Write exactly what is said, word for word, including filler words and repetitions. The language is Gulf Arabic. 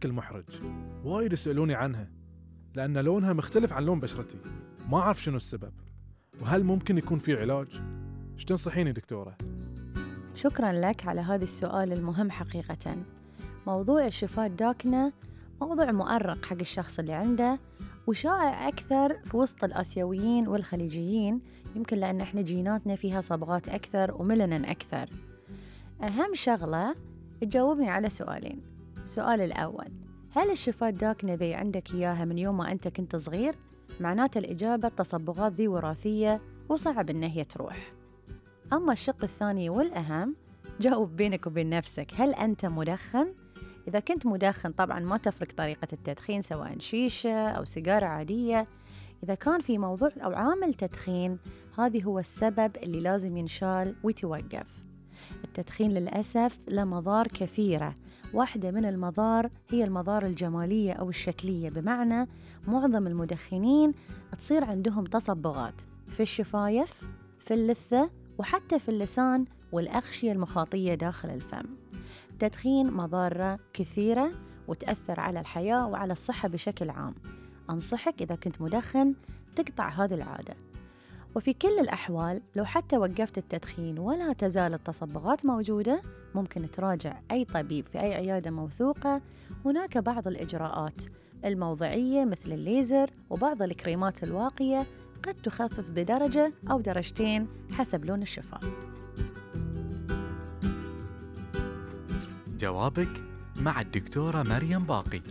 بشكل محرج. وايد يسألوني عنها لأن لونها مختلف عن لون بشرتي، ما أعرف شنو السبب، وهل ممكن يكون في علاج؟ إيش تنصحيني دكتورة؟ شكراً لك على هذا السؤال المهم حقيقة. موضوع الشفاه الداكنة موضوع مؤرق حق الشخص اللي عنده، وشائع أكثر في وسط الآسيويين والخليجيين، يمكن لأن إحنا جيناتنا فيها صبغات أكثر وميلانين أكثر. أهم شغلة تجاوبني على سؤالين. السؤال الأول، هل الشفاه الداكنة ذي عندك إياها من يوم ما أنت كنت صغير؟ معناته الإجابة التصبغات ذي وراثية وصعب إن هي تروح. أما الشق الثاني والأهم، جاوب بينك وبين نفسك، هل أنت مدخن؟ إذا كنت مدخن طبعاً ما تفرق طريقة التدخين سواء شيشة أو سيجارة عادية. إذا كان في موضوع أو عامل تدخين، هذا هو السبب اللي لازم ينشال ويتوقف. التدخين للأسف له مضار كثيرة، واحدة من المضار هي المضار الجمالية أو الشكلية، بمعنى معظم المدخنين تصير عندهم تصبغات في الشفايف، في اللثة، وحتى في اللسان والأغشية المخاطية داخل الفم. التدخين مضارة كثيرة وتأثر على الحياة وعلى الصحة بشكل عام. أنصحك إذا كنت مدخن تقطع هذه العادة. وفي كل الأحوال لو حتى وقفت التدخين ولا تزال التصبغات موجودة، ممكن تراجع أي طبيب في أي عيادة موثوقة. هناك بعض الإجراءات الموضعية مثل الليزر وبعض الكريمات الواقية قد تخفف بدرجة أو درجتين حسب لون الشفاه. جوابك مع الدكتورة مريم باقي.